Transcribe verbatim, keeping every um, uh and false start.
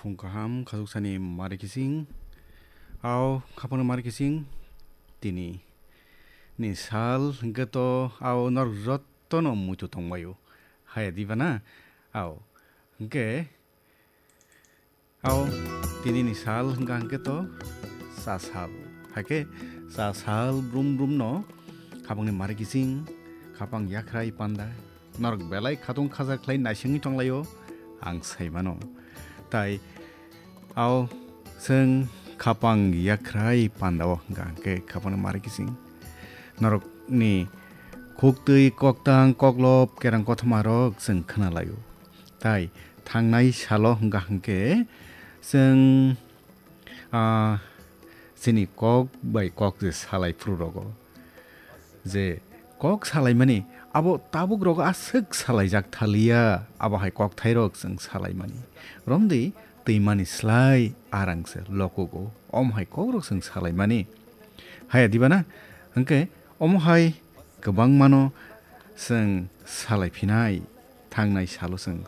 Phung kaham, khajuksani mari kising. Ao, khapangni mari kising. Tini ni sal hwnkhe to ao norok jottono muitu tongbaio. Haya diba na? Ao, hwnkhe, ao, tini ni sal hwnkha hwnkhe to sa sal. Haikhe sa sal brum brum no khapangni mari kising, khapang yakhrai panda, norok belai khatung khaja khlai naisingwi tonglaio, ang saimano. Tai ao chwng khapang yakhrai pandao hwnkha hwnkhe khapangni mari kising. Norokni khuktwi koktang koklop kerang kothoma rok chwng khwnalaio. Tai thangnai salo hwnkha hwnkhe chwng, ah, chini kok bai kok je salai phuru rogo. Je kok salaimani abo tabuk rogo aswk salaijak thaliya, abo hai kokthairok chwng salaimani. Romdi twimani slai arang se lokugo. Om hai kokrok chwng salaimani. Haya diba na? Hwnkhe omo hai kwbangmano chwng salaiphinai, thangnai salo chwng